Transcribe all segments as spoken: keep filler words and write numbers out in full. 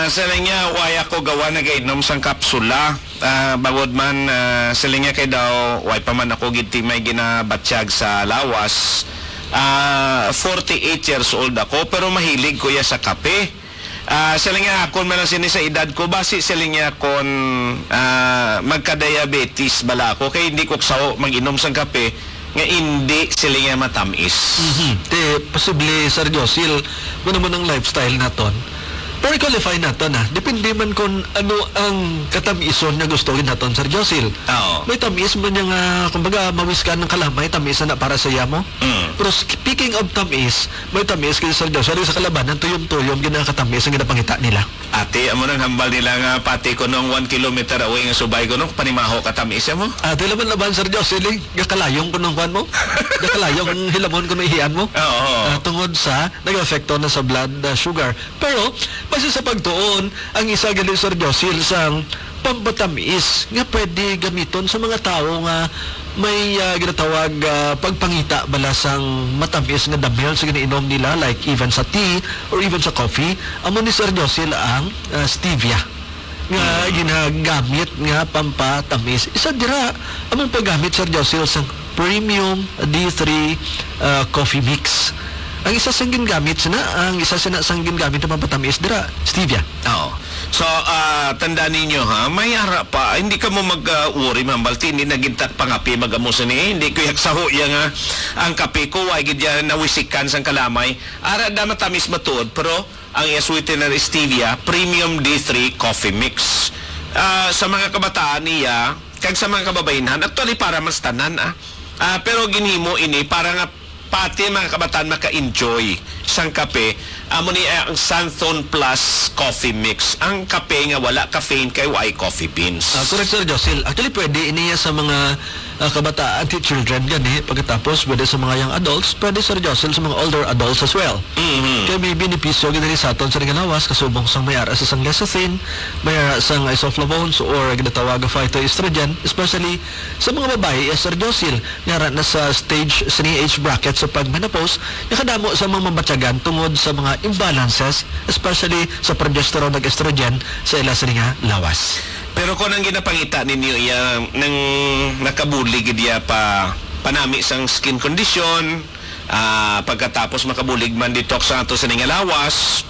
Sa niya, why ako gawa nagainom sang kapsula? Ah, bangod man, ah, sa niya kay daw, why pa man ako gid ti may ginabatyag sa lawas. Ah, forty-eight years old ako, pero mahilig ko ya sa kape. Ah, sa niya, akon man lang sini sa edad ko, basi sa niya kon, ah, magka-diabetes bala ako, kay hindi ko sao mag-inom sang kape nga hindi sila nga matamis. Mhm. Te, posible, Sir Josil, kung naman ang lifestyle naton, pero i-qualify naton, ah. Depende man kung ano ang katamison nga gusto naton, Sir Josil. Oo. May tamis man niya nga, kumbaga, mawiskan ng kalamay, tamis na para sa yamo. Mm. Pero speaking of tamis, may tamis kay Sir Josil, sa kalabanan, tuyom-tuyom, ginakatamis ang ginapangita nila. Ate, amo nang hambal nila nga pati ko nung one kilometer away nga subay ko nung panimaho ka tamis mo. Ate, laban-laban, Sir Jocelyn, gakalayong ko nung kwan mo. Gakalayong hilamon ko nung ihian mo. Oo. Ah, tungod sa nag-epekto na sa blood, ah, sugar. Pero, base sa pagtuon, ang isa gali, Sir Jocelyn, sa pampatamis nga pwede gamiton sa mga tawo nga may, ah, ginatawag, ah, pagpangita bala sang matamis nga damel sa ginainom nila, like even sa tea or even sa coffee, amo ni Sir Josil ang, ah, stevia nga Mm. ginagamit nga pampatamis. Isa dira among paggamit, Sir Josil, sang premium D three, ah, coffee mix. Ang isa sang gingamit sina, ang isa sina sang gingamit nga pampatamis dira, stevia. Oo. So, ah, tandaan ninyo, ha, may ara pa. Hindi ka mo mag, ah, worry, Ma'am Balti. Hindi na gid ta pangapi mag-amo sini. Hindi ko yak saho ya nga ang kape ko, wa gid ya nawisikan sang kalamay. Ara da matamis matuod, pero ang iya sweetener stevia, premium D three coffee mix. Ah, sa mga kabataan niya, kag sa mga kababainhan, actually para mas tanan, ah. Ah, pero ginhimo ini para nga pati mga kabataan maka-enjoy sang kape. Amo ni, ah, ang Santhon Plus Coffee Mix. Ang kape nga wala caffeine kay way coffee beans. Ah, correct, Sir Josil. Actually, pwede ini sa mga, ah, kabataan, ti children gani. Pagkatapos, pwede sa mga young adults, pwede, Sir Josil, sa mga older adults as well. Mhm. Kay may benepisyo gid ni sa aton sa ringalawas, kasubong sang may ara sa sang lecithin, may ara sang isoflavones or ginatawag nga phytoestrogen, especially sa mga babayi, eh, Sir Josil, nga ara na sa stage, sa age bracket sa pag-menopause, nakadamo sa mga mabatyagan tungod sa mga imbalances, especially sa progesterone ug estrogen sa ila sini nga lawas. Pero kung ang ginapangita ninyo iya nang nakabulig gid iya pa panami sang skin condition, ah, pagkatapos makabulig man detox ang ato sini nga lawas,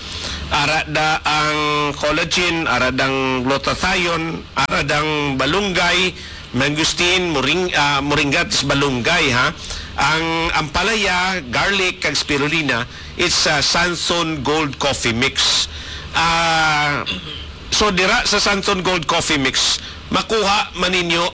ara da ang collagen, ara dang glutathione, ara dang balunggay, mangosteen, moring-, ah, moringa, tis balunggay, ha. Ang ampalaya, garlic, kag spirulina, it's a Sanson Gold Coffee Mix. Ah, so dira sa Sanson Gold Coffee Mix, makuha man ninyo